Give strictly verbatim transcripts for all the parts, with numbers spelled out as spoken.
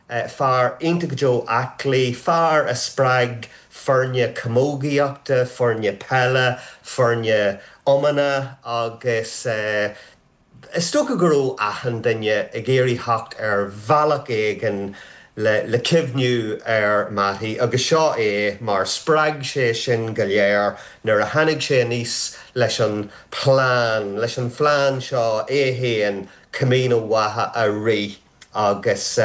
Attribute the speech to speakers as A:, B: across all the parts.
A: Fear iontach go deo aclaí, fear a spreag foirne camógaíochta, foirne peile, foirne iomána agus is dócha go raibh achan duine ag iarraidh theacht ar bhealach éigin le cuimhniú ar Mattie agus seo é mar spreag sé sin go léir nuair a tháinig sé aníos leis an plean, leis an phlean seo é féin Camino Mhacha a rith agus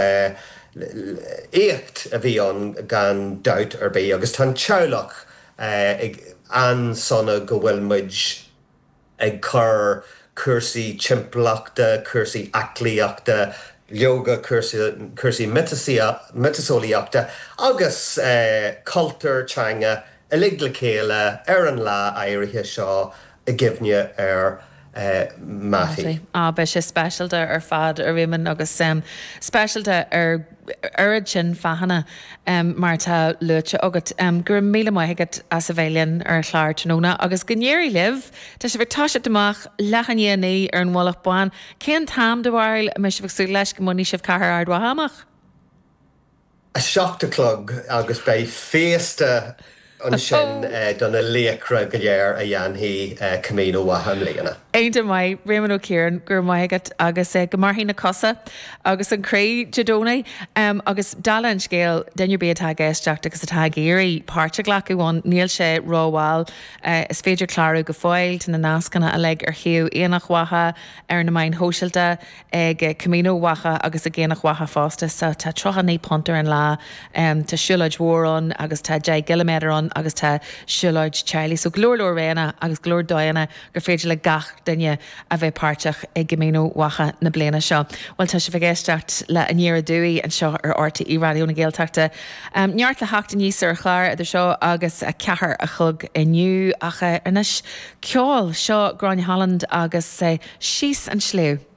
A: éacht a bhí ann gan dabht ar bith agus tá an teaghlach an-sona go bhfuil muid ag cur cúrsaí timpeallachta, cúrsaí aclaíochta, leoga cúrsaí miotaseolaíochta agus cultúr, teanga uilig le chéile ar an lá áirithe seo i gcuimhne ar Mattie.
B: Á, beidh sé speisialta ar fad, a Réamoinn, agus speisialta ar oiread sin fáthanna mar atá luaite agat. Go raibh míle maith agat as a bheith linn ar an chlár tráthnóna agus go n-éirí libh! Tá sibh ag toiseacht amach leath i ndiaidh a naoi ar an Mhullach Bán. Cén t-am, do bharúil, a mbeidh sibh ag súil leis go mbainfidh sibh Cathair Ard Mhacha amach?
A: A seacht a chlog agus beidh féasta ansin do na laochra go léir a dhéanfaidh Camino Mhacha i mbliana.
B: Iontach maith, Réamonn Ó Ciaráin, go raibh maith agat agus go mairfidh na cosa agus an croí Dé Domhnaigh. Agus dála an scéil, duine ar bith atá ag éisteacht agus atá ag iarraidh páirt a ghlacadh ann, níl sé rómhall. Is féidir clárú go fóill, tá na nascanna uilig ar shuíomh Aonach Mhacha, ar na meáin shóisialta. ag Camino Mhacha agus ag Aonach Mhacha fosta. So tá tríocha naoi punt ar an lá, tá siúlóid mhór ann agus tá deich gciliméadar ann agus tá siúlóid teaghlaigh. So go leor leor roghanna agus go leor dóigheanna gur féidir le gach duine a bheith páirteach i gCamino Mhacha na bliana seo. Bhuel tá sibh ag éisteacht le Aniar Aduaidh anseo ar RTÉ Raidió na Gaeltachta. Neart le theacht aníos ar an chlár idir seo agus a ceathair a chlog inniu ach anois ceol. Seo Gráinne Holland agus Síos an Sliabh.